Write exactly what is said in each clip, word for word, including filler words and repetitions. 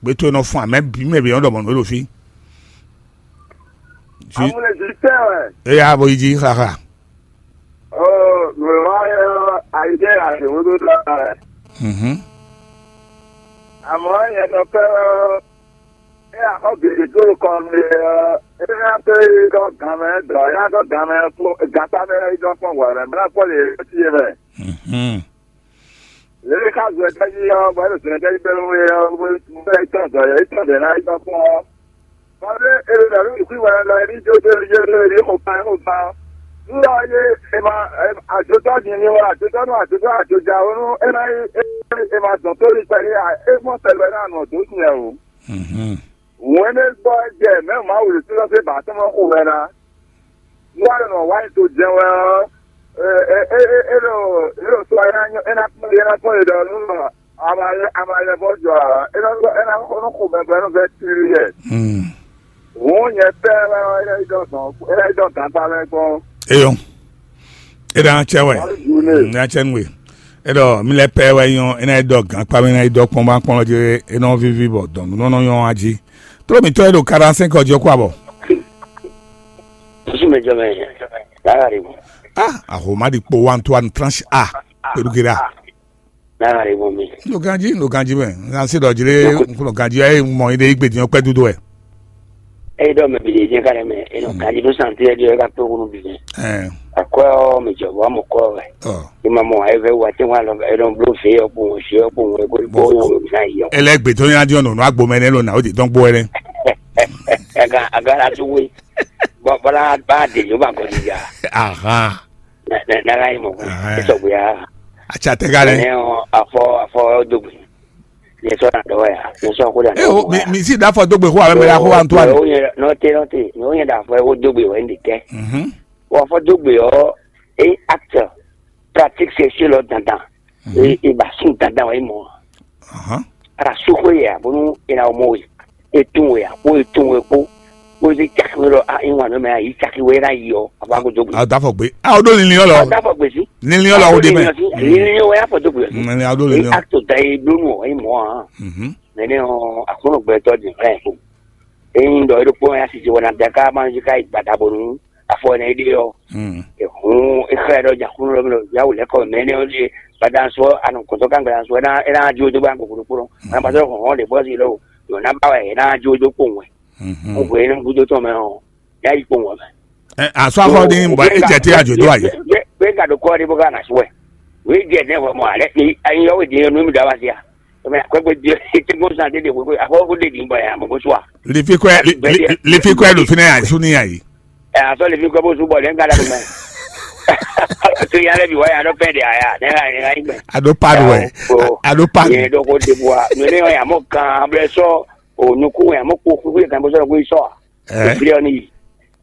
Gbé towe nɔ fún amɛ bǐ mɛ bǐ nɔ ɖɔ mɔ̌ nú we ɖo fí. Amúlejítɛ́ wɛ. Éyá bo yi jí xaxa. Ó, nǔ e wá ɔ́, ayidé azǐnwúɖú ɖɔ wɛ. Mhm. Àmọ́ nyɛ nɔ pɛ́ ɔ́, é axɔ́ gěgé dó kɔ nú é ɔ́, é ná tó yi ɖɔ gan mɛ dɔ̌, é ná dɔ́ gan mɛ kpó gata mɛ yi dɔ́ kpɔ́n hwɛ̌ mɛ, bó ná kpɔ́ lě e sí é mɛ. Mhm. Lě e xá zɔn tɛ́ jí ɔ́, bɔ é ɖo zɔn tɛ́ jí kpé nú é ɔ́, bó bó é tɔn zɔn é tɔn ɖě ná yi dɔ́ kpɔ́n ɔ́. Bɔ ɖé é ɖo ɖɔ nú nǔkún wɛ lɔ é ní jó jó jó jó é ní xo kan é xo kan. Nú ɔ́ yé è ma ajotɔ́ din ní wɛ ajotɔ́ nú ajotɔ́ ajoja ó nú é ná nyí é ma dɔn tó ní kpɛɖé ǎ, é mɔ sɛgbɛ ná nɔ dó sin ɛ o. Mhm. Hǔn énɛ́ gbɔ é jɛ mɛ̌ Mawu ɖo tínúsé ba tɔn xo wɛ ná. Nú wá ɖo nɔ wá nyi to jɛ́n wɛ ɔ́, é é é é é ɖo é ɖo sɔ é ná nyɔ é ná kpɔ́n é ná kpɔ́n é ɖɔ nú nɔ ama ama lɛ bɔ jɔ ǎ, é ná é ná xɔ nú xo mɛ bɔ é nɔ vɛ tlí yɛ. Hmm. Hǔn nyɛ pɛ́ wɛ ɔ́, é ná yi dɔn dɔn é ná yi dɔn gankpá mɛ gbɔn. Eyɔn. E ɖe an cɛ wɛ. Wá ɖo jǔ nɛ. Mm, e ɖe an cɛ nú we. E ɖɔ mi lɛ pɛ wɛ nyɔ, e ná yi dɔ gǎn kpa mi ná yi dɔ kpɔn ba kpɔn jí, e nɔ víví bɔ dɔn nú nɔ nyɔ a jí. Tló mǐtɔn e ɖo quarante-cinq ɔ́ jí ɔ́ kó abɔ. Sísí mɛ jɔ mɛ. Lára rè mɔ. Ah, ahoma di kpo wa Antoine tranche a. Pẹ̀lú gera. Lára rè mɔ mi. N ɖo ganjí, n ɖo ganjí mɛ. N kan sí ɖɔ jí lé, n kplɔ ganjí ɔ́, e mɔ yi ɖe yi gbedin ɔ́ kpɛ́ dúdú wɛ. Eyi ɖɔ mɛ bi ɖe jɛ ka ɖe mɛ, enɔ kaji ɖo santi ɛ ɖi ɛ ka kpé wonu bi jɛ. Ɛɛ. Akɔ ɔ mɛ jɔ bɔ amɔ kɔ wɛ. Ɔ. Ima mɔ ayɛ vɛ wa tɛ wa lɔ, enɔ blo fe yɔ kpɔn, fe yɔ kpɔn, eko Bɔn- bo yɔ na yi yɔ. Ele gbe tó yá diɔ nɔ nɔ agbo mɛ ne lo na o di dɔn gbo ɛnɛ. Aga aga la tu we. Bɔ bɔla ba de yo ba kɔ di ja. Aha. Na na na ka yi mɔ. Aha. Esɔ gbe ya. Atsa tɛ ka lɛ. Ne afɔ afɔ dogbe. Yɛ sɔ na dɔ ya. Yɛ sɔ ko da. E o mi mi si da fɔ dogbe ko awɛ mɛ da ko Antoine. O yɛ nɔ te nɔ te. O yɛ da fɔ ko dogbe wɛ ndi tɛ. Mhm. Wa fɔ dogbe ɔ e acte pratique sexuelle ɔ dandan. E e ba sun dandan wɛ mɔ. Aha. Ara su ko ya bonu e na mɔ we. E tun we ya ko e tun we ko. Ko se caki we lɔ a e wan nɔ mɛ a yi caki we na yi ɔ a ba ko dogbe. A da fɔ gbe. A o do linlin ɔ lɔ. A da fɔ gbe si. Linlin ɔ lɔ o de mɛ. Linlin ɔ ya fɔ dogbe. Ni a do linlin ɔ. Acte da e blonu ɔ e mɔ a. Mhm. Mɛ ne ɔ akunɔ gbɛtɔ di hɛn ko. Eyin dɔ eɖokpo ya sisi wɔna daka ma yi ka yi gbada bonu afɔ ne ɖe ɔ. Hmm. Ehun exlɛ ɖɔ jakunu lɔ mi lɔ yawu lɛ kɔ mɛ ne ɔ ɖe gbada sɔ anu kɔtɔ kan gbada sɔ ena ena jo do ba ko kuro kuro. Na ba sɔ hɔn de bɔ si lɔ yo na ba wɛ ena jo do ko wɛ. Mhm. Mo ko ena gudo tɔ mɛ ɔ ya yi ko wɛ mɛ. Ɛ asɔ afɔ ni bɔ e jɛ te ajo do ayi. Be ka do kɔ de bo ka na sɔ wɛ. We jɛ ne wɔ mɔ ale ni ayi yɔ we de no mi da wa sia. Mɛ akɔgbe di ete gbɔn san de de ko ko afɔ ko de di bɔ ya mo ko sua. Lifi kɔɛ li- li- lifi kɔɛ ɖo fi nɛ ayi su ni ayi. Ɛ asɔ lifi kɔɛ bo su bɔ lɛ n ka da ko mɛ. To ya lɛ bi wa ya dɔ pɛ de aya ne ka ne ka yi mɛ. Ado pad wɛ. Ado pad. Yɛ dɔ ko de bua. No ne ya mo kan blɛ sɔ o nukun ya mo ko ko kan bo sɔ ko sɔ. Ɛ. Fi ɔ ni yi.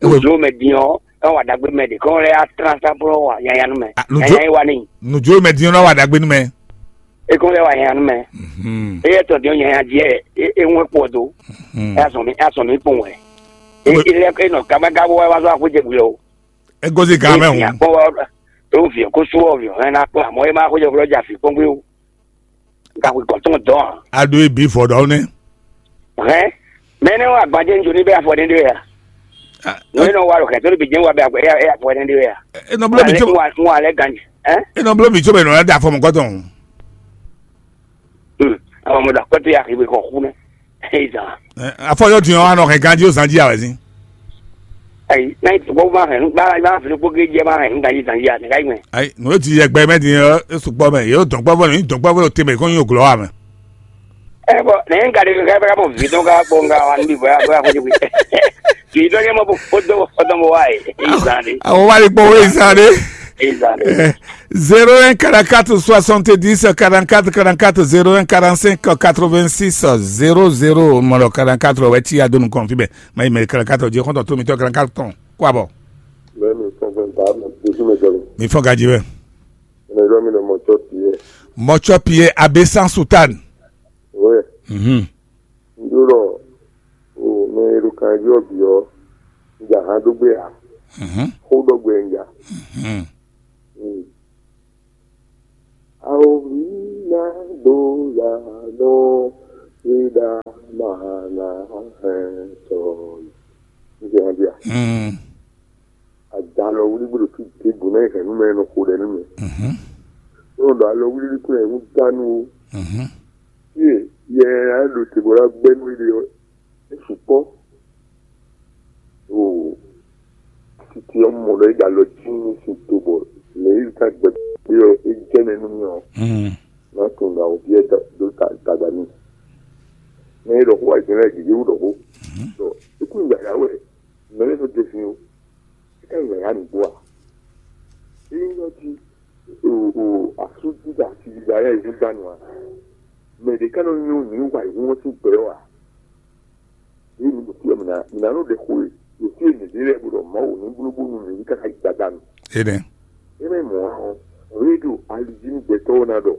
Ewe. Ojo mɛ din ɔ ɛ wa dagbe mɛ de kɔn lɛ ya tran sa blo wa yanya nu mɛ. Ah, nujo- Yanya yi wa ni. Nujo mɛ din ɔ wa dagbe nu mɛ. E kɔn lɛ wa yanya nu mɛ. Mhm. E yɛ tɔ din ɔ yanya di ɛ e e ŋwɛ kpɔ do. Mhm. E azɔn mi e azɔn mi kpɔn wɛ. E Ewe. E lɛ e nɔ kaba gabo wa wa zɔ akó jɛ gbe o. Egozi gan mɛ E hun. Kpɔ wa o vi ko su o vi o ɛ na kpɔ amɔ e ma ko jɛ gbe o ja fi kpɔn gbe o. Gakwe gɔn tɔn dɔn a. A ɖo ebi vɔ ɖɔ nɛ. Hɛn mɛ ne wa gbadze ŋdzo ni bɛ afɔ ne ɖe ya. Ah, Nɔ ye nɔ wa ɖo kɛ to bi jɛn wa bɛ afɔ ya ya afɔ ne ɖe ya. E nɔ blo mi tso Wa wa lɛ ganji. Ɛ? E nɔ blo mi tso bɛ nɔ da afɔ mɔ kɔtɔn. Hmm. Awɔ mo da kɔtɔ ya ki be kɔ ku ne. Ezan. Afɔ yɔ diɔ anɔ kɛ ganji o zanji awɛ zin. Ayi, n'a yi tɔgbɔ ma hɛn, ba ba fili kpó gé jɛ ma hɛn, n'ka yi zan yi a, n'ka yi mɛ. Ayi, nù ti yɛ gbɛ mɛ di yɔ, e sukpɔ mɛ, yɛ o dɔn kpɔfɔ, ni dɔn kpɔfɔ te mɛ, ko nyi o glɔ wa mɛ. Ɛ bɔ ne n ka de ka ka mɔ vi dɔn ka kpɔ n ka wa n bi bɔ ya bɔ ya ko jugu. Vi dɔn yɛ mɔ bo o dɔn o dɔn bo wa yi. Izan de. Awo wa de kpɔ wo izan de. Izan de. Zéro un quarante-quatre soixante-dix quarante-quatre quarante-quatre, zéro un quarante-cinq quatre-vingt-six zéro zéro, mɔlɔ quarante-quatre wɛ ti ya donu kɔn fi bɛ. Mayi mɛ kɛlɛ katɔ jɛ kɔntɔ to mi tɔ kɛlɛ katɔ kó abɔ. Mɛ mi fɛn fɛn ba mɛ dojú mi jɔlɔ. Mi fɔ gaji bɛ. Ɛnɛ yɔ mi nɔ mɔtsɔ piyɛ. Mɔtsɔ piyɛ abe san sutan. Wɛ. Mhm. N yɔrɔ o mɛ ero kan yɔ bi ɔ. N ja han dó gbé a. Mhm. Xó dɔ gbɛ n ja. Mhm. Mm. Ao mi na do ya nɔ. Ida mahana hɛn sɔ. Nígbà wọn bí a. Mm. Àjà lọ wúlí gbọ́dọ̀ fi dé gbòmẹ hẹn nú mẹ nù kó dẹ nú mẹ. Mhm. Wọn dọ alọ wúlí kó yẹn ń dánú o. Mhm. Yé yẹ á lò tèbó la gbẹnú ilé ọ. Ẹ sùpọ. O títí ọmọ lọ ìgbà lọ jí ní sin tó bọ lẹ́yìn ká gbẹ bí ọ é jẹ́ nínú mi ọ. Mm. Má tún gbà wò bí ẹ dó dàgbà mi. Mɛ e ɖɔ xó wá jɛ lɛ gěgé wú ɖɔ xó. Mhm. Ɖɔ ikú ìgbà yà wɛ mɛ lɛ nɔ dé sin o. É ká ìgbà yà nìgbó a. Eyín lɔ jí o o asú dídá àti dídá yà ìhún dánù a. Mɛ ɖé ká nɔ nyú ní wà ìhún ɔ́ sín gbɛ ɔ́ a. Yìí ní bùkún mìnà mìnà ló ɖe xó e yòtí e mǐ ɖe lɛ́ɛ bó ɖɔ Mawu ní blóbónú mǐ ní káká yi gbadanu. Énɛ́. É mɛ mɔ̌ ɔ́, rédíò alijí ní gbɛtɔ́ ɔ́ ná ɖɔ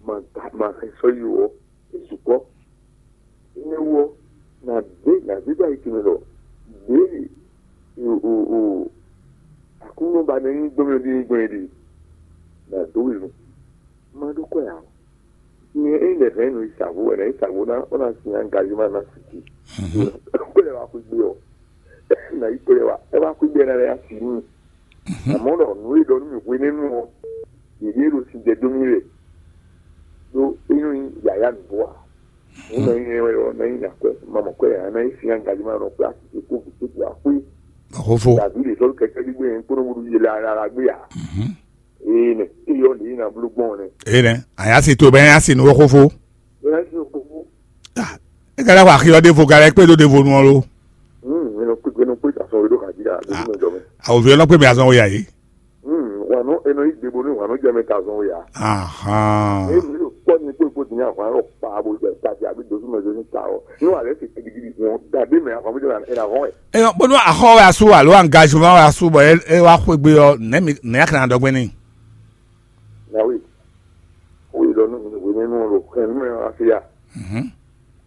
ma da ma xɛ sɔ́ yi ó, é sukpɔ́. Énɛ́ wú ɔ́, nǎ dé nǎ dé dó ayi tɔn mɛ ɖɔ ɖěe o o o Aklúnɔ ba nɛ́ nyí gbɔn mɛ ɖíe gbɔn é ɖe. Nǎ dó we nu. Má ɖó kwɛ ǎ. Nyɛ ényí ɖe hɛn nɔ yi sa vo wɛ, nɔ yi sa vo ná, ó ná sin angazima ná siki. Kó lɛ wá xwé gbé ɔ, nà yi kó lɛ wá, é wá xwé gbé ná lɛ asi nú. Àmọ́ ɖɔ nǔ e ɖɔ nú mì hwenɛ́nu ɔ́, yěɖée ɖo sin jɛ dó mì wɛ. Ɖó é nyɔ́ nyí yǎyá nǔgbó ǎ. Nǔ nɔ nyí wɛ ɔ́, ná nyí akwɛ́, mamɔ kwɛ ǎ, ná nyí sin angazima nɔ kplá asi kó gǔ kó gǔ axwé. Xófó. Dàbí lè sɔ́ kɛkɛ́ gbígbé yẹn kpó nɔ ɖu yě la la gbé ǎ. Mhm. Ee nɛ, eyɔ lě e na bló gbɔn nɛ. Ee nɛ, a yá si to bɛ a yá si nú xófó. Bɛ a si xófó. Ah, e ka lɛ xɔ axi ɔ ɖevo, ka lɛ kpé ɖó ɖevo nu ɔ lo. Hmm, mi nɔ kpé, mi nɔ kpé asɔn we ɖó ka jí a, ɖó mi jɔ mɛ. Awo vi ɔlɔ kpé mi azɔn wo ya yi. Hmm, wa nɔ enɔ yi gbe bo ni wa nɔ jɛ mɛ ka azɔn wo ya. Ahan. E mi ɖo kpɔ ni kpó kpó ti nya hwan lɔ kpa bo jɛ ta ti abi dosu mɛ dosu ta o. Ni wa lɛ ti gidigidi wọn da de mɛ ahwan bo jɛ na ena hɔn ɛ. Eyɔ bónú axɔ wɛ asu alo angazement wɛ asu bɔ e e wa xwegbe ɔ, nɛ mi nɛ akana dɔgbe ni. Na wi. Wo yi lɔ nu mi wo ne nu lo kɛn nu mɛ wa fi ya. Mhm.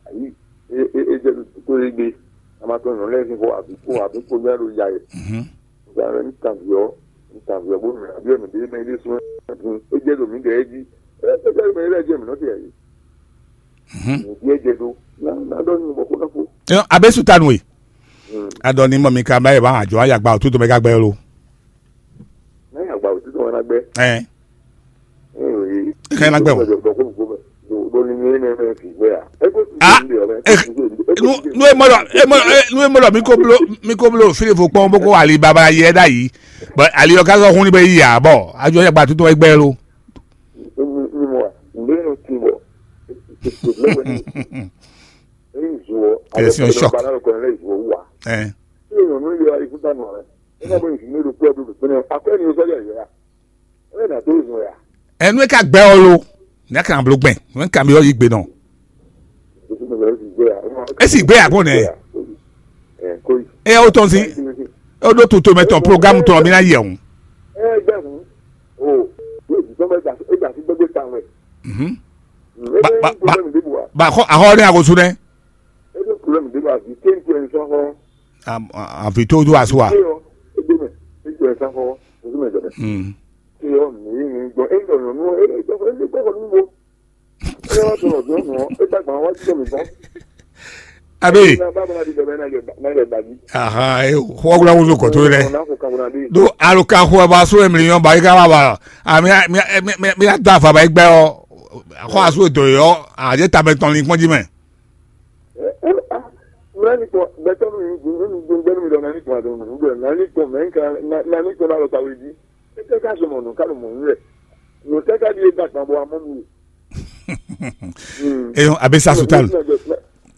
Ayi, e e e jɛ to yi gbe. A ma to nɔ lɛ fi ko abi ko abi ko ya lo ya ye. Mhm. Nka lɛ nkan viɔ, nkan viɔ bo mɛ abi mɛ de mɛ de sun. E jɛ do mi de e ji. E e jɛ mɛ e jɛ mi nɔ ti ayi. Mhm. Mi di e jɛ do. Na na dɔ ni bɔ ko na ko. Eyɔ abe su tanu e. Mm. Adɔ ni mɔ mi ka ba ye ba ajɔ ayagba otu to mɛ ka gbɛ lo. Ní àgbà òtítọ́ wọn náà gbẹ́. Ẹ Kẹ́ ẹ ná gbẹ́ o. Bó ní ní ní ní fi gbé à. Ẹ kó tún Ah, ṣe ń bè ọ̀rẹ́. Ẹ kó tún ṣe ń bè. Ẹ kó Nu tún ṣe ń nu bè. Emɔlɔ emɔlɔ nu emɔlɔ mi ko blo mi ko blo fili fo kpɔn bó ko ali baba yɛ da yi. Bɔn ali ɔ ka sɔ hun ni bɛ yi ya bɔ adzɔ yɛ gba tuntun ɛgbɛ lo. Ní mo wà ní mo ti bọ̀. Ní ìzù ọ. Ẹ sì ń shock. Balárò kan lẹ́yìn ìzù ọ wà. Ẹ Ní ìrònú yọ ayé fún dànù rẹ̀. Ẹ má bọ̀ ìsìn ní ìlú pẹ́ẹ́bù pẹ̀lú akọ́ ẹni sọ́jà ìyá. Ẹ nà tó ìzù ya. Ẹnu ẹ ká gbẹ ọ lo. Ní a kàn blo gbẹ. Ní a kàn bí ọ yí gbé náà. Ẹ sì gbé àgbọn nẹ. Ẹ ó tọ́ sí. Ó dó tuntun mẹ tán programu tán mi ná yẹ òun. Ẹ gbẹ fún. O yóò di sọmọ ẹgbà ẹgbà sí gbẹgbẹ ta wẹ. Mhm. Ẹ Ba- bẹ ba- ní ba- problem dé bu wa. Ba àhọ́ ní àkóso dẹ. Ẹ bẹ problem dé bu wa. Di kéńtì ẹ̀ ń sọ fún. Àfi tó tó aṣọ wa. Ṣé ọ ẹ gbé mẹ kéńtì ẹ̀ ń sọ fún. Ojú mẹ jẹ mẹ. Hmm. Ṣé ọ mí ní gbọ́ ẹ ń dọ̀nà nú ẹ ẹ jọ ẹ ń gbọ́ nínú wo. Ẹ wá sọ̀rọ̀ bí ọ̀nà ẹ dàgbà wá jẹ́ mi bọ́. Abe. Ẹ bá bá di bẹ̀rẹ̀ náà yẹ náà yẹ dàbí. Aha, e xɔ wula wuzu kɔtɔ rẹ. Ọ̀nà kò kàwé náà dé. Do aluka xɔ ba so emili yɔn ba yi ka ba ba. A mi mi mi mi mi da fa ba yi gbɛ ɔ. Xɔ aso do yɔ a je ta bɛ tɔn li kpɔn ji mɛ. Ẹ ẹ a mìíràn ní kpɔn bẹ́tọ́ mi ní ní ní gbẹ́nu mi lọ náà ní kpɔn àdó mi ní gbẹ́nu náà ní kpɔn mẹ́ nǹkan náà ní kpɔn náà lọ kàwé jí. Ẹ tẹ́ ká sọmọ nù ká lọ mọ̀ nínú rẹ̀. Nù tẹ́ ká di é dàgbà bọ̀ àmọ́ mi. Eyɔn abe sa sutal.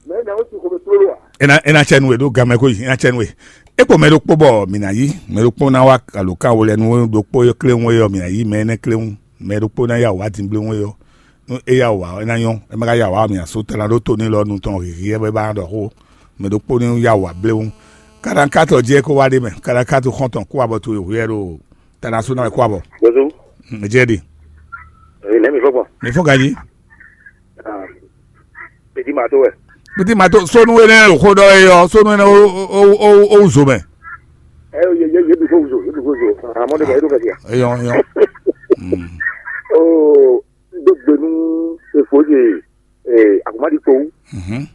Mɛ na o ti ko bɛ tlolo wa. Ena ena tsɛ nu e ɖo gamɛ ko yi ena tsɛ nu e. Ekpo mɛ ɖokpó bɔ mi na yi mɛ ɖokpó na wa alo kan wo lɛ nu ɖokpó kléwún e yɔ mi na yi mɛ énɛ́ kléwún mɛ ɖokpó na ya wá dingblé wún e yɔ. Nú é ya wǎ ɔ́, é ná nyɔ́. É má ka ya wǎ ɔ́, mǐ ná sú tala ɖó to n'i lɔ nu tɔn hǐhí ɛ bɔ é ba ná ɖɔ xó. Mɛ ɖokpó ní ya wǎ bléwún. Kaɖankátɔ jɛ é kó wá ɖ'é mɛ. Kaɖankátɔ xɔ́ntɔn kó wá bɔ to e hwíɛ ɖo Tanasunɔ wɛ kó wá bɔ. Bozo. Ǹjẹ́ ɖe? Èyí nẹ́mi fọ́gbọ̀n. Mi fún gají. Pètí màá tó wẹ̀. Pètí màá tó sónú énɛ́ ɖo xó ɖɔ é ɔ́, sónú énɛ́ ó ó ó ó wú zo mɛ. Ẹ yẹ yẹ yẹ bi fo wuzo yẹ bi fo wuzo. Àmọ́ ní bẹ̀rẹ̀ ló fẹ́ di à. Eyɔn eyɔn. Oo. Dó gbenu efo de akumaɖi kpowú. Mhm.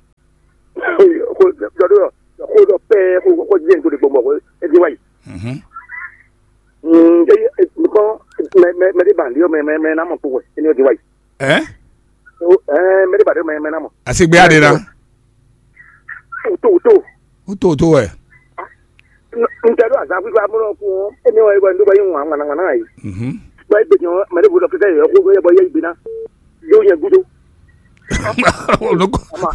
Xo jɔ ɖo xo ɖɔ pɛ xo xo jɛ nto de gbɔmɔ xo edi wa yi. Mhm. Mm, e e nukɔ mɛ mɛ mɛ de ban di o mɛ mɛ mɛ na mɔ kpo wɛ eni o di wa yi. Ɛ? O ɛ mɛ de ban di o mɛ mɛ na mɔ. Asigbe ade na. Uto uto. Uto uto wɛ. N tɛ ɖo azan fífá mɔ kún eni wɛ wɛ ndo bɔ yi ŋun ŋwana ŋwana yi. Mhm. Bɔ egbe jɔ mɛ de bo dɔ kɛkɛ yɔ ko yɛ bɔ yɛ igbe na. Yo yɛ gudo. Olùkọ́. Ama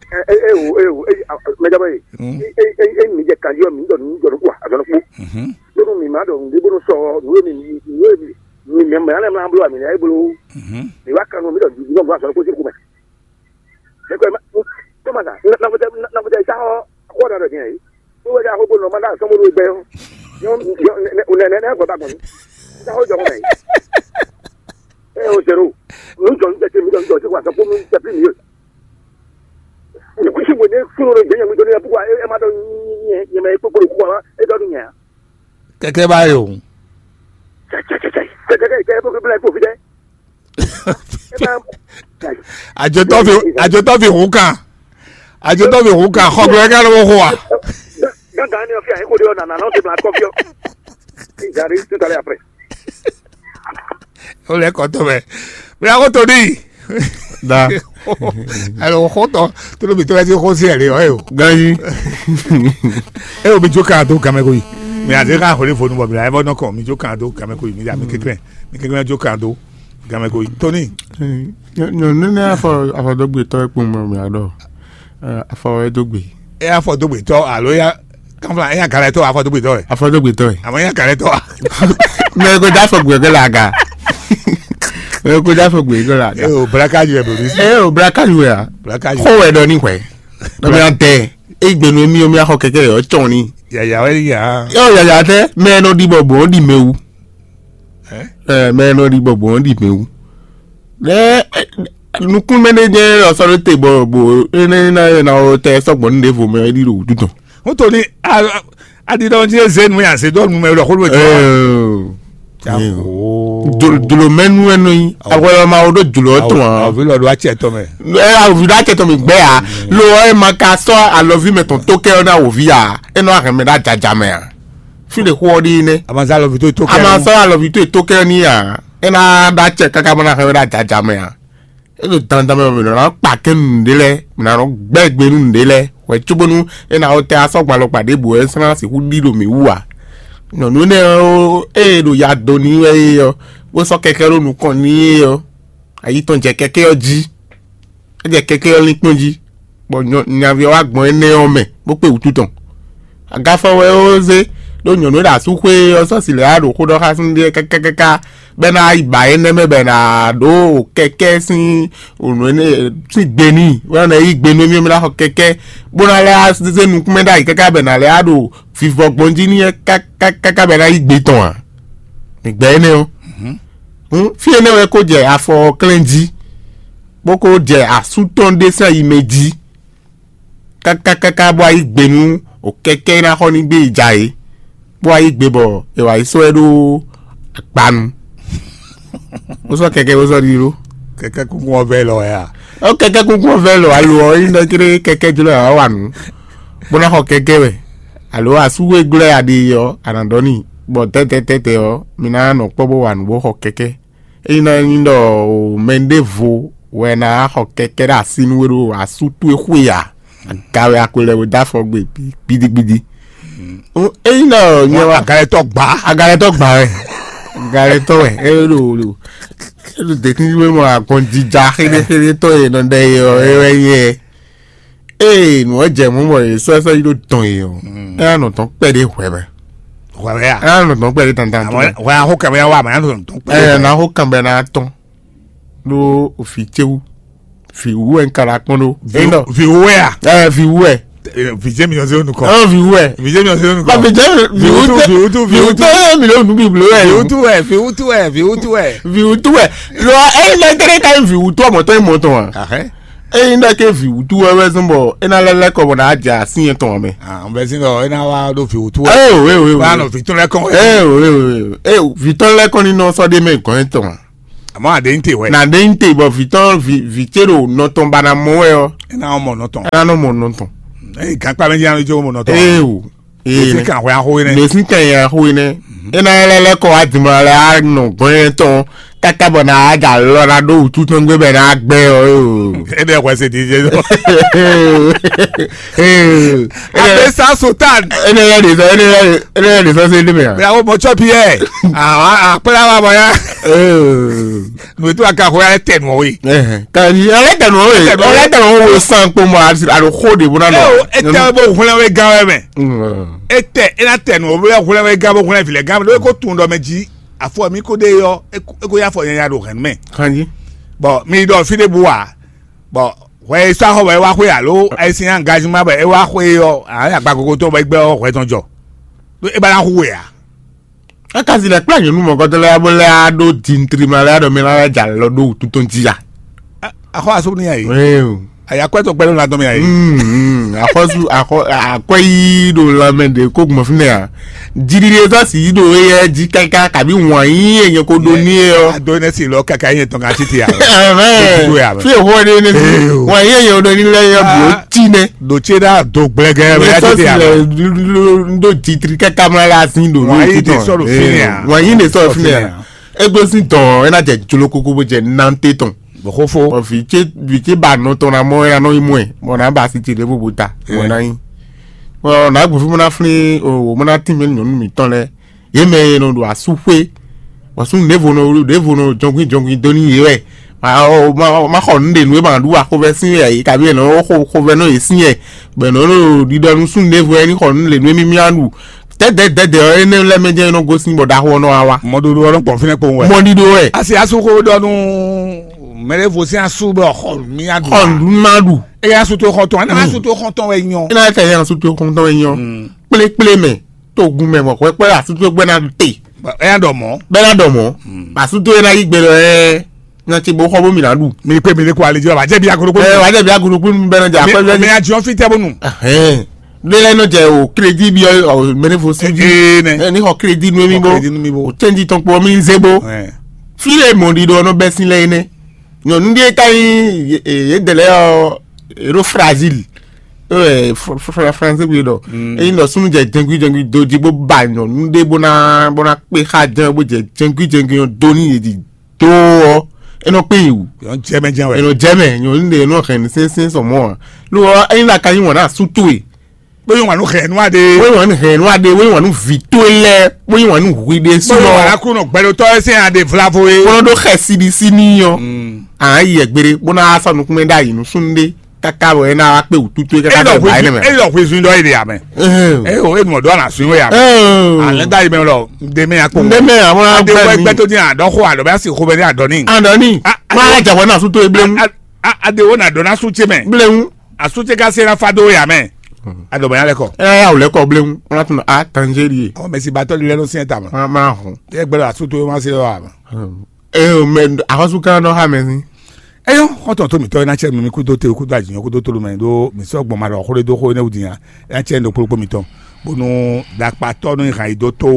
e e e o e o e mɛ jaba ye. Mm. E e e mi jɛ kanji mi dɔ mi dɔ ko azɔn ko. Mhm. Bonu mi ma dɔ mi bonu sɔ nu mi mi mi mi mi mi mi ale ma blo mi ne blo. Mhm. Mi wa kanu mi dɔ mi dɔ azɔn ko ti ko mɛ. Ne ko ma ko ma na na ko na ko sa ho ko da dɔ ni. Ko wa ja ho bonu ma da so mo lu gbe yo. Yo yo ne ne ne ko ba ko. Sa ho jɔ ko mɛ. E o zero. Nu jɔ nu tɛ mi dɔ mi dɔ ko wa so ko mi tɛ pli mi yo. Kusi bo ne fún ló jẹ́ yẹn mi tó ní ẹ púpọ̀ ẹ má dọ̀ yẹn yẹn mẹ kpókpó kú wa ẹ dọ̀ dún yẹn. Kɛkɛ bá yò. Kẹkẹ kẹ kó kébìlà kó fi dẹ. Ẹ má. Àjọtọ́ fi àjọtọ́ fi hùn kan. Àjọtọ́ fi hùn kan. Xɔgbẹ́ ká ló wó hó wa. Gángan ni ọ̀fíà yín kò dé ọ̀nà nànà ó ti máa kọ́ fíọ́. Ìjà rí títọ́lẹ̀ àpẹẹrẹ. Ó lẹ kọ tó mɛ. Bí a kò tó ní. Da. Alo xɔ tɔ tó ló bi tó lẹ ti xɔ sí ẹ lé ɔ yìí o. Ganyi. E o mi jó kan tó gamɛ ko yi. Mi a ti ka xɔ ní fonu bɔ mi la ẹ bɔ nɔ kàn mi jó kan tó gamɛ ko yi mi a mi kékeré mi kékeré jó kan tó gamɛ ko yi. Tóní. Nyɔnu ne afɔ afɔdɔgbe tɔ ekpɔn mɛ mi adɔ. Afɔ wɛ dó gbe. E afɔ dó gbe tɔ alo ya kanfla e ya galɛ tɔ afɔ dó gbe tɔ wɛ. Afɔ dó gbe tɔ wɛ. Àmọ́ e ya galɛ tɔ. Mɛ ko da afɔ gbe gɛ la ga. Mɛ ko da afɔ gbe gɛ la ga. E o blaka ju ẹ bolo. E o blaka ju ya. Blaka ju. Xɔ wɛ dɔ ni xwɛ. Dɔ mi an tɛ. E gbenu mi o mi axɔ kɛkɛ yɔ tsɔn ni. Yaya wɛ ya. Yɔ yaya tɛ mɛ nɔ di bɔ bɔ di mɛ wu. Ɛ mɛ nɔ ɖi bɔ bɔ di mɛ wu. Ɛ nukún mɛ ɖé jɛ ɔsɔ ɖo te bɔ bo ene na na o tɛ sɔgbɔ nu ɖevo mɛ ɖi ɖo wutu tɔn. Wotoni aɖiɖɔ ŋutí eze nu ya se dɔ nu mɛ lɔ xolo jɔ. Jlo mɛ nu ɛnɔ yi awɔlɔ ma wo ɖo jlo tɔn a. Avi lɔ ɖo atsɛ tɔ mɛ. Ɛ avi ɖo atsɛ tɔ mi gbɛ ya lo ɛ ma ka sɔ alɔvi mɛ tɔn to kɛ na wo vi ya enɔ ahɛmɛ ɖe ajaja mɛ a. Fi ɖe xó ɔ́ ɖi nɛ́. A ma zá alɔví tó tó kɛ. A ma zá alɔví tó tó kɛ ní a. É ná ɖó acɛ káká bó ná xlɛ́ wɛ ɖó ajaja mɛ a. É ɖo dandan mɛ bɔ mǐ nɔ ná kpa kɛ́n nǔɖé lɛ́ɛ, mǐ ná nɔ gbɛ́ gbe nú nǔɖé lɛ́ɛ. Hwɛ cóbónú é ná wɔ tɛ asɔ́ gbalɔ kpa ɖěbǔ wɛ é sɔ́ ná sixú ɖi ɖo mǐ wú ǎ. Nyɔ̌nu énɛ́ ɔ́, ée è ɖo ya do n'i wɛ é ɔ́, bó sɔ́ kɛkɛ́ ɖó nukɔn n'i é ɔ́, ayi tɔn jɛ kɛkɛ́ ɔ́ jí. É jɛ kɛkɛ́ ɔ́ lín kpɔ́n jí, bɔ nyaví ɔ́ wá gbɔn énɛ́ ɔ́ mɛ, bó kpé wǔtu tɔn. Agafɔ wɛ ó zé ɖó nyɔ̌nu e ɖo asúxwé ɔ́ sɔ́ si lɛ̌ wá ɖo xó ɖɔ xá súnnu ɖé káká bɔ é ná yi ba énɛ́ mɛ bɔ è nǎ ɖó kɛkɛ́ sín nǔ énɛ́ sín gbe n'i, bɔ é ná yi gbe nú émí ɔ́, mì ná xɔ kɛkɛ́, bó ná lɛ́ zé nukúnmɛ ɖ'ayǐ káká bɔ è nǎ lɛ́ wá ɖo vivɔ gbɔn jí n'i káká bɔ è ná yi gbe tɔn ǎ. Mǐ gbɛ́ énɛ́ ɔ́. Hǔn fí énɛ́ wɛ kó jɛ afɔ ɔ́ klɛ́n jí, bó kó jɛ asú tɔn ɖé sín ayi mɛ jí káká káká bó wá yí gbe nú o kɛkɛ́ e ná xɔ ní gbé yi ja é, bó wá yí gbe bɔ è wǎ yi sɔ́ ɛ ɖó agbanu. Bó sɔ́ kɛkɛ́ bó sɔ́ ɖi ɖó. Kɛkɛ́ kúnkún ɔ́ vɛ lɔ wɛ a? Ɔ kɛkɛ́ kúnkún ɔ́ vɛ lɔ alo ɔ́ nyí ɖɔ kéré kɛkɛ́ jló ɛ wá wà nǔ, bó ná xɔ kɛkɛ́ wɛ. Alo asú e glɔ́ ɛ a ɖe ɔ́, a nǎ ɖɔ n'i, bɔ tɛ́tɛ́tɛ́tɛ́ ɔ́, mi ná nɔ kpɔ́ bó wa nǔ bó xɔ kɛkɛ́. Ényí ná nyí ɖɔ mɛ ɖěvo wɛ ná xɔ kɛkɛ́ ɖo así nú we ɖo asú towe xwe ǎ, aga wɛ a ko lɛ bo dó afɔ gbe gbidigbidi. Ényí ɖɔ nyɛ wá agalɛtɔ gbá. Agalɛtɔ gbá wɛ. Agalɛtɔ wɛ. É ɖo ɖo é ɖo dèkínjú mɔ agbɔnjija xéɖéxéɖé tɔn e nɔ ɖɛ é ɔ́ é wɛ nyɛ. Ee nǔ ɔ́ jɛ mɔ̌ bɔ è sɔ́ ɛ sɔ́ yi ɖó dɔn e ɔ́, é ná nɔ dɔn kpɛɖé hwɛ mɛ. Hwɛ wɛ a? É ná nɔ dɔn kpɛɖé dandan. Hwɛ a xó kɛmɛ wa mɛ, é ná nɔ dɔn kpɛɖé. Ɛ ná xó kɛmɛ ná tɔn ɖó vǐ ce wú. Vǐ wú wɛ un ka ná kpɔ́n ɖó. Vǐ wú wɛ a? Ɛ vǐ wú wɛ. Vǐ ce mi yɔ se nukɔ. Ɔ vǐ wú wɛ. Vǐ ce mi yɔ se nukɔ. Vǐ ce vǐ wú tɛ vǐ wú tɛ mi lɛ nu biblo wɛ. Vǐ wú tu wɛ, vǐ wú tu wɛ, vǐ wú tu wɛ. Vǐ wú tu wɛ. Lɔ ɛ lɛ tɛnɛ ka vǐ wú tu ɔmɔ tɔn mɔ tɔn a? Eyi ɖɔ ke vǐ wútu wɛ wɛ zɔn bɔ é ná lɛ́ lɛ́ kɔ bɔ ná jɛ así yɛn tɔn mɛ. N bɛ sin ɖɔ é ná wá ɖó vǐ wútu wɛ. Ee o ee o ee o. Wá nɔ vǐ tɔn lɛ́ kɔn. Ee o ee o ee o vǐ tɔn lɛ́ kɔn ní nɔ sɔ́ ɖé mɛ gɔn yɛn tɔn. Àmọ́ àdéhùn te wɛ. Na ɖe ń te bɔ vǐ tɔn vǐ vǐ ce ɖo nɔ tɔn ba ná mɔ wɛ ɔ́, É ná mɔ nɔ tɔn. É ná nɔ mɔ nɔ tɔn. Eye gankpá mɛ jí anu jó mɔ nɔ tɔn. Ee o. Ee Èsì ne. Kan hwɛ axó yé nɛ. Ɖe sín kan yɛ axó yé nɛ. É ná lɛ́ lɛ́ kɔ wá dìmɔ lɛ á nɔ gbɔn yɛ tɔn káká bɔ ná á dza lɔ ná ɖó wútu tɔn gbé bɛ ná gbɛ ɔ yó. É ɖe hwɛ se di jɛ. Ee. Abe sa sotan. Ene yɛ de sɔ ene yɛ ene yɛ de sɔ se de mɛ. Bɛ awo mɔ tsɔ piyɛ. Awa akpla wa bɔ ya. Ee. Nùtú aka xɔ ya tɛ nù ɔwe. Kàní ɔlẹ́ tẹ̀nù ɔwọ́ yìí ɔlẹ́ tẹ̀nù ɔwọ́ san kpó mọ́ àti àlùkò de bó ná nọ. Eo etɛ bó hwlɛn wé gán wɛ mɛ. Etɛ ena tɛnu o bó hwlɛn wɛ gán bó hwlɛn vilɛ gán bó kó tun dɔ mɛ jí. Afɔ mi kó de yɔ eko ya fɔ nyanya ɖo hɛn mɛ. Kàní. Bɔn mi ɖɔ fi de bu wa. Bɔn hwɛ sɔ axɔ wɛ wa xwe alo ayisi nya gazima bɛ e wa xwe yɔ. Agba koko tó bɔ egbɛ hwɛ tɔn jɔ. E ba na hu we a. Eka si lɛ kplá nyɔnu mɔgɔtɔ lɛ bó lɛ aɖó dintri ma lɛ aɖɔ mi lɛ dza lɔ ɖó wútu tɔn jí ya. Axɔ aso ni ayi. Ee. Ayi akwɛ tɔ gbɛdɔ la dɔn mi ayi. Mm, mm. Axɔsu axɔ akwɛ yi ɖo lanmɛ ɖe kó gbɔn fi nɛ a. Jiri ɖe sɔ si yi ɖo eyɛ jí kaka kabi wɔn yi enye ko ɖo ni ye ɔ. Ado ne si lɔ kaka yi tɔn ka titi a. Ɛhɛn. Fi ehɔ ɖe ne si. Ee. Wɔn yi enye ɖo ni lɛ yɛ bo ti nɛ. Ɖo tse ɖa do gblɛgɛ wɛ ya titi a. Ɖo jitri kaka mla la sin ɖo. Wɔn yi de sɔ ɖo fi nɛ a. Wɔn yi de sɔ fi nɛ a. Egbe sin dɔn ena jɛ jolo koko bo jɛ nante tɔn. Bɔxofo. Ɔ vi tse vi tse ba nɔ tɔn na mɔ ya nɔ yi mɔɛ bɔ na ba si tse ɖe bo bo ta mɔ na yi. Ɔ na gbɔ fi mo na flin o mo na tin mi nyɔnu mi tɔn lɛ. Ye mɛ e nɔ ɖo asúxwé, bɔ súnnu ɖěvo nɔ ɖěvo nɔ jɔnkwín jɔnkwín dó n'i yě wɛ. Ma xɔ nǔɖé nú é ma ɖu axovɛ́ sín wɛ yě, kabi è nɔ xo xovɛ́ nɔ yě sín wɛ, bɔ è nɔ ɖo ɖiɖɔ nú súnnu ɖěvo wɛ ní xɔ nǔɖé nú émí mía ɖu. Dɛ̌dɛ̌ dɛ̌dɛ̌ ɔ́, énɛ́ lɛ́ɛ mɛ jɛ́n é nɔ gosín bɔ ɖaxó ɔ́ nɔ wá wá. Mɔɖoɖo ɔ́ nɔ gbɔn fínɛ́ kpowun wɛ. Mɔɖiɖo wɛ. Asi asú xó ɖɔ nú mɛɖěvo sín asú bɔ xɔ nǔ mía ɖu. Xɔ nǔ má ɖu. Eye asú tó xɔntɔn, ɛnɛ asú tó xɔntɔn wɛ nyɔ. Énɛ́ lɛ́ɛ ka nyí asú tó xɔntɔn wɛ nyɔ. Kplékplé mɛ. Togun mɛ mɔ hwɛkpɛ asútó gbɛ na te. Ɛ ya ɖɔ mɔ. Bɛ na ɖɔ mɔ. Asútó yɛ na yi gbɛ lɔ ɛ. Na ti bo xɔ bo mi na ɖu. Mi kpe mi le ko ali jɔ wa jɛ bi agolo ko. Ɛ wa jɛ bi agolo ko bɛ na jɛ akpɛ. Mi a jɔ fi tɛ bonu. Ɛhɛn. Ne lɛ nɔ jɛ o crédit bi ɔ mɛnɛ fo si bi. Ee nɛ. Ɛ ni xɔ crédit nu mi bo. Crédit nu mi bo. O tɛnji tɔn kpɔ mi ze bo. Fi le mɔ ɖi ɖɔ nɔ bɛ sin lɛ yi nɛ. Nyɔnu ɖe ka yi ye dɛlɛ ɔ ero fragile. Ɛ français bi ɖɔ. Eyi nɔ sunu jɛ jɛngui jɛngui do ji bó ba nyɔnu ɖe bó ná bó ná kpé xa jɛn bó jɛ jɛngui jɛngui ɔ do ní yě di do ɔ. Enɔ kpé yi wù. Yɔn jɛmɛ jɛn wɛ. Enɔ jɛmɛ nyɔnu ɖe enɔ hɛn ní sɛnsɛn sɔmɔ wa. Lo ɔ eyi na ka yi wɔn na su to ye. Bóyá wọn nu hɛn nua de. Wọ́n wà ní hɛn nua de wọ́n wà ní vi tó lɛ wọ́n wà ní hui de bóyá wọn sɔmɔ. Akúnú gbɛdotɔ ẹsẹ ade vlavo ye. Kɔnɔ ɖo xɛ sidi si ní yɔ. Àn yɛ gbére bó ná sɔ nukúnmɛ ɖe ayi nusúnú ɖe kaka bɔ ena wa kpe wútútú kaka bɔ ba yi nɛ mɛ. Eyɔ hwezun dɔ yi de amɛ. Eyo enu dɔ na sun ya. Alɛ da yi mɛ lɔ nde mɛ akpɔ. Nde mɛ àwọn agbẹ mi. Gbɛtɔ ni adɔ xo alɔ bɛ asi xo bɛ ni adɔ ni. Adɔ ni. Ma jabɔ na su to eblemu. Ade wo na dɔ na su tse mɛ. Blemu. Asutse ka se na fa dó ya mɛ. Adɔbanya lɛ kɔ. Ɛ ya wòlɛ kɔ blemu wọn tún a tanzeri ye. Ɔ mɛ si batɔ lilɛ ló sɛn ta ma. Wọn máa hùn. Ɛ gbɛdɔ asuto yóò máa se lọ àmà. Ɛ o mɛ ahɔsu kan nɔ ha mɛ ni. Eyɔ xɔtɔn tó mitɔ ena tsɛ mi kudo te kudo adzinyɔ kudo tolu mɛ do mi sɔ gbɔn ma ɖɔ xó ɖe dó xó ne wudi nya ena tsɛ ndo kplokpó mitɔ bonu ɖakpatɔ nɔ yi hàn yi dó tó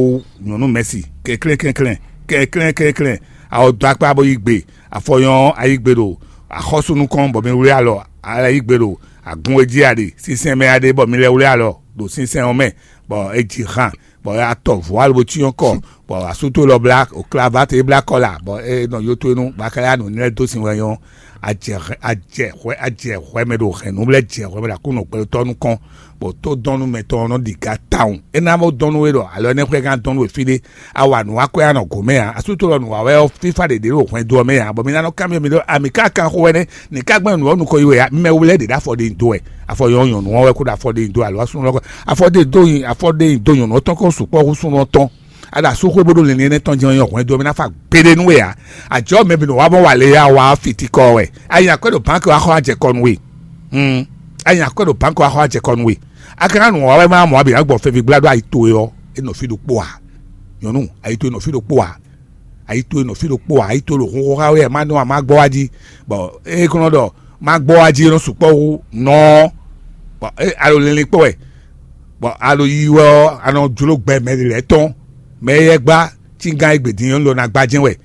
nyɔnu mɛsi kɛklɛn kɛklɛn kɛklɛn kɛklɛn awɔ dó akpá bó yi gbe afɔyɔn ayigbe ɖo axɔ́sú nukɔn bɔ mi wlí alɔ ayigbe ɖo agun e jí a ɖe sínsɛ́n mɛ a ɖe bɔ mi lɛ́ wlí alɔ ɖo sínsɛ́n ɔ́ mɛ, bɔ é ji han, bɔ é wá tɔ vɔ̌ alo bó cyɔ́n kɔ, bɔ asútó lɔ blá oklavátɛ é blá kɔ la, bɔ é nɔ yó tó é nú bɔ a ka yá nǔ nylɛ́ dó sin wɛ nyɔ́. Ajɛ hwɛ ajɛ hwɛ ajɛ hwɛ mɛ ɖo hɛ̌nnu lɛ́ɛ jɛ hwɛ mɛ ɖo Aklúnɔ gbɛtɔ́ nukɔn, bɔ tó dɔn nú mɛ tɔn ɔ́ nɔ ɖi ga tawun. É ná bó dɔn nú we ɖɔ alɔ énɛ́ xwɛ gán dɔn nú we fí ɖé, a wa nǔ wá kwɛ́ a nɔ gǒ mɛ ǎ. Asútó lɔ nǔ wa wɛ ɔ́ fífá ɖě ɖe ɖo hwɛndo ɔ́ mɛ ǎ, bɔ mi ná nɔ kanbyɔ́ mi ɖɔ a mǐ ka kan xó wɛ nɛ́? Ni ka gbɛn nǔ ɔ́ nukɔn yi wɛ ǎ? Mɛ wlɛ́ ɖě ɖo afɔ ɖe nyi do wɛ, afɔ yɔ nyɔ̌nu ɔ́ wɛ kó ɖo afɔ ɖe nyi do alo asúnú ɔ́ kɔ afɔ ɖe do nyi afɔ ɖe nyi do nyɔ̌nu ɔ́ tɔn kó sukpɔ́ hú súnnu ɔ́ tɔn. A ɖo asúxwé bó ɖo lǐnlín énɛ́ tɔn jɛ́n ɔ́ nyí hwɛndo ɔ́ mɛ ná fa gbeɖé nú we ǎ. Ajɔ̌ mɛ bǐ nɔ wá mɔ wa lě ya wá fitikɔ wɛ. A nyi akwɛ́ ɖo bǎnkì wá xɔ ajɛ kɔ nú we. A nyi akwɛ́ ɖo bǎnkì wá xɔ ajɛ kɔ nú we. A ka ná nǔ wa wɛ má mɔ abǐ ná gbɔ feví gbla ɖó ayi towe ɔ́, é nɔ fí ɖokpó ǎ. Nyɔ̌nu, ayi towe nɔ fí ɖokpó ǎ. Ayi towe nɔ fí ɖokpó ǎ. Ayi towe ɖo hunxó xá we wɛ má nɔ má gbɔ wá jí. Bɔ é kɔn nɔ ɖɔ má gbɔ wá jí é nɔ sukpɔ́ hú nɔ ɔ́. Bɔ é alo linlin kpó wɛ. Bɔ alo yi wɛ ɔ́, a nɔ jló gbɛ mɛ ɖě lɛ́ɛ tɔn. Mɛ éyɛ́ gbá cíngán e gbě din ɔ́ lɔ ná gbá jɛ́n wɛ.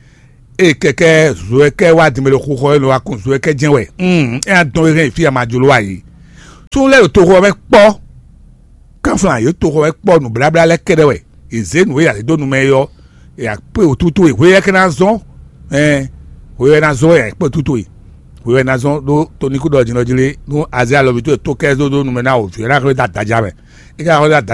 Ée kɛkɛ Zoɛkɛ wá din mɛ ɖo xixɔ e nɔ wá kun Zoɛkɛ jɛ́n wɛ. Mm, é ná dɔn wé hɛn yi fí e a ma jló wá yi. Súnnu lɛ́ɛ ɖo toxo ɔ́ mɛ kpɔ́. Kánflán yě toxo ɔ́ mɛ kpɔ́ nǔbláblá lɛ́ɛ kɛ́ɖɛ́ wɛ. È zě nǔ e a lě dó nu mɛ é ɔ́, è akpé wǒtútú e hwe ɔ́ ka ná zɔ́n. Ɛn hwe ɔ́ ná zɔ́n wɛ è akpé wǒtútú e. Hwe ɔ́ ná zɔ́n ɖó toníkú ɖɔ jǐnɔ jí lé nú azé alɔví towe tó kɛ dó dó nu mɛ ná wǒ ví ɔ́ ná xwlé dó adaja mɛ. É ka xwlé dó